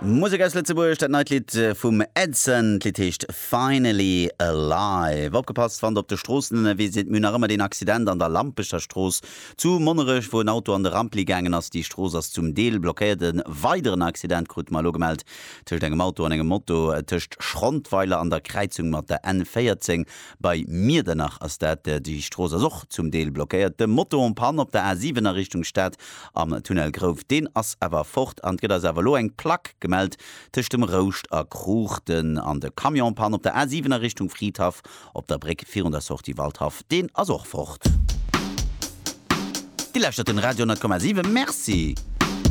Musek aus Lëtzebuerg, dat neit Lidd vum Edson. D'Lidd heescht Finally Alive. Opgepasst, wann der op de Stroossen ënnerwee sidd, mir hunn nach ëmmer deen Accident an der Lampecher Strooss zu Monnerech, wou en Auto an de Rampli gaangen ass. Déi Strooss ass zum Deel blockéiert. E weideren Accident krute mer elo gemellt tëscht engem Auto an engem Moto tëscht Schrondweiler an der Kräizung mat der N 14 bei Miedernach ass dat. Déi Strooss ass och zum Deel blockéiert. De Moto en panne op der A 7 a Richtung Stad Am Tunnel Grouf, deen ass awer fort an et gëtt eis awer elo eng Plack gemellt tëscht dem Rouscht a Kruuchten. An de Camion en panne op der A7 a Richtung Fridhaff op der Bréck virun der Sortie Waldhaff, deen ass och fort. Dir lauschtert den Radio 10,7. Merci.